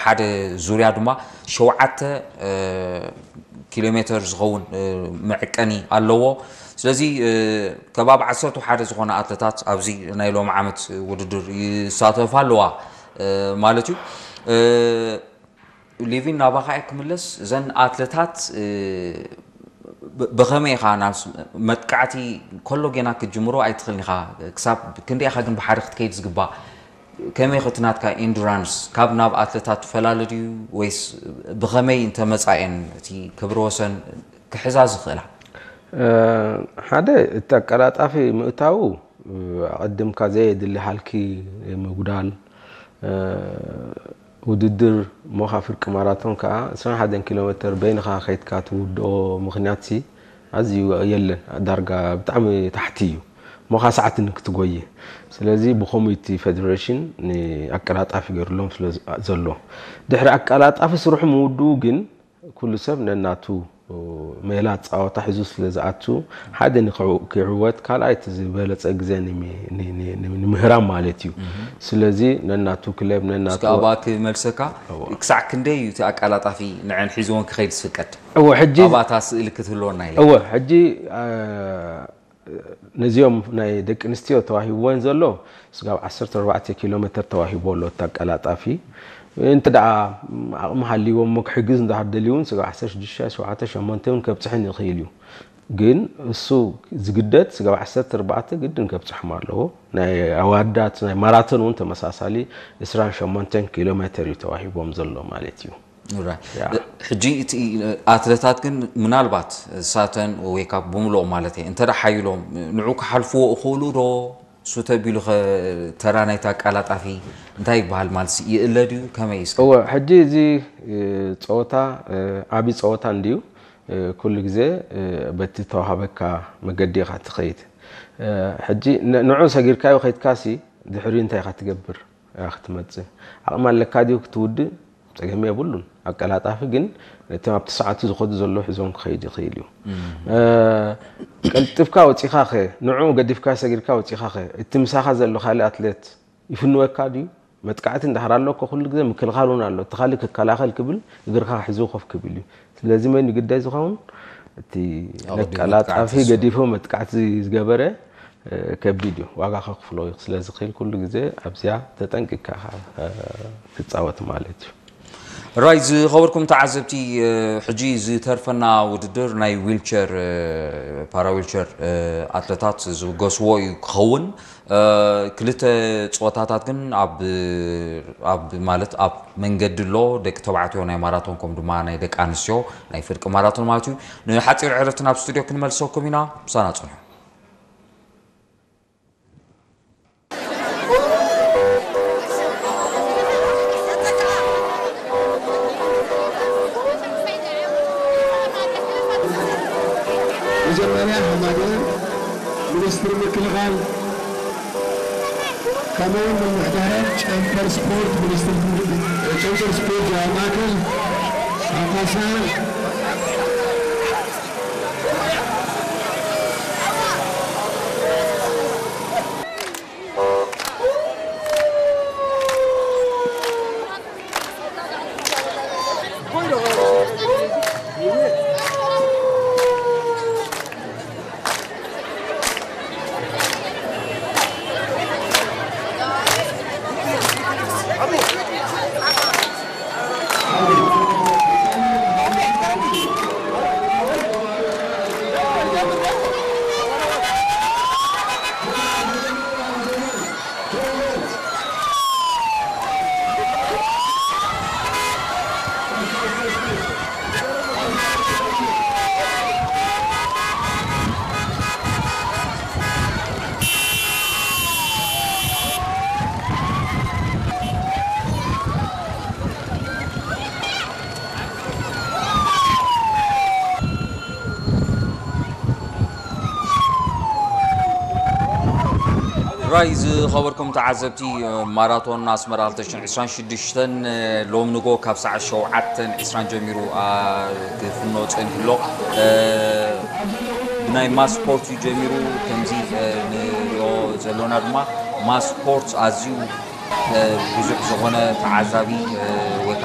ሓደ ዙርያ ድማ ሸውዓተ ኪሎ ሜትር ዝኸውን መዕቀኒ ኣለዎ። ስለዚ ከባቢ ዓሰርተ ሓደ ዝኾነ ኣትለታት ኣብዚ ናይ ሎሚ ዓመት ውድድር ይሳተፋ ኣለዋ ማለት እዩ። ሊቪን፣ ናባኻ እየ ክምለስ። እዘን ኣትለታት ብኸመይ ኢኻ ናብ መጥቃዕቲ ከሎ ጌና ክትጅምሮ ኣይትኽእልን ኢኻ። ክሳብ ክንደይ ኢኻ ግን ብሓደ ክትከይድ ዝግባእ? ከመይ ኸ እቲ ናትካ ኢንዱራንስ ካብ ናብ ኣትለታት ትፈላለ ድዩ ወይስ ብኸመይ እንተመጻ እየን እቲ ክብረ ወሰን ክሕዛ ዝኽእላ? ሓደ እቲ ኣቀላጣፊ ምእታዉ ኣቐድምካ ዘየድሊ ሃልኪ ምጉዳል ውድድር እሞ ካብ ፍርቂ ማራቶን ከዓ ዕስራን ሓደን ኪሎ ሜትር በይንኻ ከይድካ ትውድኦ ምኽንያት ሲ ኣዝዩ የለን። ዳርጋ ብጣዕሚ ታሕቲ እዩ እሞ ከዓ ሰዓት ንክትጎየ። ስለዚ ብኸምኡ እቲ ፌደሬሽን ንኣቀላጣፊ ገይሩሎም ስለ ዘሎ ድሕሪ ኣቀላጣፊ ስርሑ ምውድኡ ግን ኩሉ ሰብ ነናቱ ሜላ ፃወታ ሒዙ ስለ ዝኣቱ ሓደ ንክዕወት ካልኣይ እቲ ዝበለፀ ግዜ ንምህራም ማለት እዩ። ስለዚ ነናቱ ክለብ ነናቱ ኣባ ክመልሰካ ክሳዕ ክንደይ እዩ እቲ ኣቃላጣፊ ንዐን ሒዝዎን ክኸይድ ዝፍቀድ? እወ ሕጂ ኣባታ ስእሊ ክትህልወና ኢለ እወ ሕጂ ነዚኦም ናይ ደቂ ኣንስትዮ ተዋሂብወን ዘሎ ስጋብ ዓሰርተ ኣርባዕተ ኪሎ ሜትር ተዋሂቦ ኣሎ እቲ ኣቀላጣፊ። እንተ ደኣ ዓቕሚ ሃልይዎም እሞ ክሕግዝ እንድሕር ደልዩ እውን ስጋብ ዓሰርተ ሽዱሽተ፣ ሸውዓተ፣ ሸሞንተ እውን ከብፅሐን ይኽእል እዩ። ግን እሱ ዝግደድ ስጋብ ዓሰርተ ኣርባዕተ ግድን ከብፅሖም ኣለዎ። ናይ ኣዋዳት ናይ ማራቶን እውን ተመሳሳሊ ዕስራን ሸሞንተን ኪሎ ሜትር እዩ ተዋሂቦም ዘሎ ማለት እዩ። ሕጂ እቲ ኣትለታት ግን ምናልባት እሳተን ወይ ካብ ብምልኦም ማለት እየ እንተ ሓይሎም ንዑ ክሓልፍዎ እኽእሉ ዶ? ሱ ተቢሉ ኸ ተራ ናይቲ ኣቃላጣፊ እንታይ ይበሃል ማለት ይእለ ድዩ ከመይ እስከ? እወ ሕጂ እዚ ፀወታ ዓብዪ ፀወታ እንድዩ። ኩሉ ግዜ በቲ ተዋሃበካ መገዲ ኢኻ ትኸይድ። ሕጂ ንዑ ሰጊርካዮ ከይድካሲ ድሕሪኡ እንታይ ኢኻ ትገብር? ክትመጽእ ዓቕሚ ኣለካ ድዩ ክትውድእ? ጸገም የብሉን። ኣቀላጣፊ ግን ነቲ ኣብቲ ሰዓቱ ዝኸዱ ዘለዉ ሒዞም ክኸይድ ይኽእል እዩ። ቀልጢፍካ ወጺኻ ኸ ንዕኡ ገዲፍካ ሰጊርካ ወጺኻ ኸ እቲ ምሳኻ ዘሎ ካልእ ኣትሌት ይፍንወካ ድዩ? መጥቃዕቲ እንድሕር ኣሎ እኮ ኩሉ ግዜ ምክልኻል እውን ኣሎ። እቲ ካልእ ክከላኸል ክብል እግርካ ሒዙ ኮፍ ክብል እዩ። ስለዚ መን እዩ ግዳይ ዝኸውን? እቲ ነቀላጣፊ ገዲፉ መጥቃዕቲ ዝገበረ ከቢድ እዩ፣ ዋጋ ከኽፍሎ እዩ። ስለዚ ክል ኩሉ ግዜ ኣብዚኣ ተጠንቂቅካ ክትፃወት ማለት እዩ። ራይ ዝኸበርኩም ተዓዘብቲ፣ ሕጂ ዝተርፈና ውድድር ናይ ዊልቸር ፓራ ዊልቸር ኣትለታት ዝብገስዎ እዩ ክኸውን። ክልተ ፀወታታት ግን ኣብ ኣብ ማለት ኣብ መንገዲ ኣሎ። ደቂ ተባዕትዮ ናይ ማራቶን ከም ድማ ናይ ደቂ ኣንስትዮ ናይ ፍርቂ ማራቶን ማለት እዩ። ንሓፂር ዕረፍቲ ናብ ስቱድዮ ክንመልሰኩም ኢና። ምሳና ፅንሑ። መጀመርያ ሃማደር ሚኒስትሪ ምክልኻል ከምኡውን ምምሕዳራት ጨንፈር ስፖርት ሚኒስትሪ ጨንፈር ስፖርት ዞባ ማእከል ሓፋሳ ራይ ዝኸበርኩም ተዓዘብቲ፣ ማራቶን ኣስመራ ክልተ ሽሕን ዕስራን ሽዱሽተን ሎም ንጎ ካብ ሰዓት ሸውዓተን ዕስራን ጀሚሩ ክፍኖ ጸኒሑ ኣሎ። ብናይ ማስ ስፖርት እዩ ጀሚሩ። ከምዚ ንሪኦ ዘሎና ድማ ማስ ስፖርት ኣዝዩ ብዙሕ ዝኾነ ተዓዛቢ ወይ